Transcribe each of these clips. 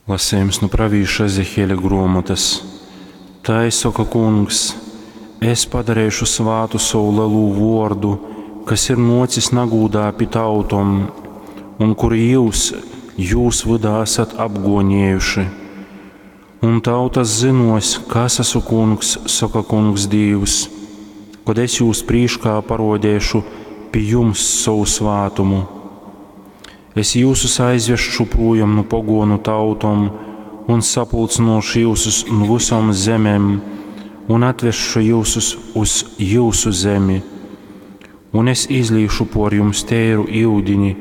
Lasījums nu pravīša Ezehieļa gruomotys. Tai soka Kungs, Es padareišu svātu sovu lelū vuordu, kas ir nuocis nagūdā pi tautom, un kuru jyus jūs vydā asat apguoniejuši. Un tautas zynuos, ka es asu Kungs, soka Kungs Dīvs, kod es jūs prīškā paruodeišu pi jums sovu svātumu. Es jyusus aizvesšu prūjom nu poguonu tautom un sapulcynuošu jyusus nu vysom zemem un atvesšu jyusus uz jyusu zemi. Un es izlīšu puor jums teiru iudini,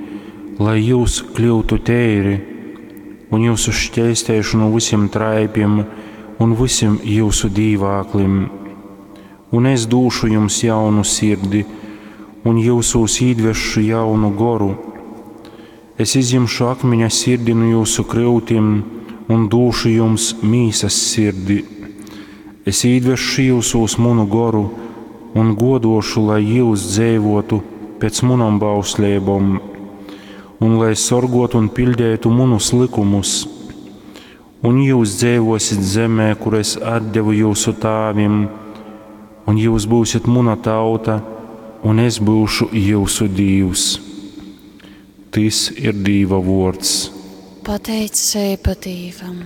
lai jyus kļyutu teiri, un jyusus šķeisteišu nu vysim traipim un vysim jyusu dīvāklim. Un es dūšu jums jaunu sirdi, un jyusūs īdvesšu jaunu goru. Es izjimšu akmiņa sirdi nu jyusu kryutim un dūšu jums mīsas sirdi. Es īdvesšu jyusūs munu goru un guoduošu, lai jyus dzeivuotu pēc munom bausleibom, un lai sorguotu un piļdeitu munus lykumus. Un jyus dzeivuosit zemē, kuru es atdevu jyusu tāvim, un jyus būsit muna tauta, un es būšu jyusu Dīvs. Tys ir Dīva vuords. Pateiceiba Dīvam.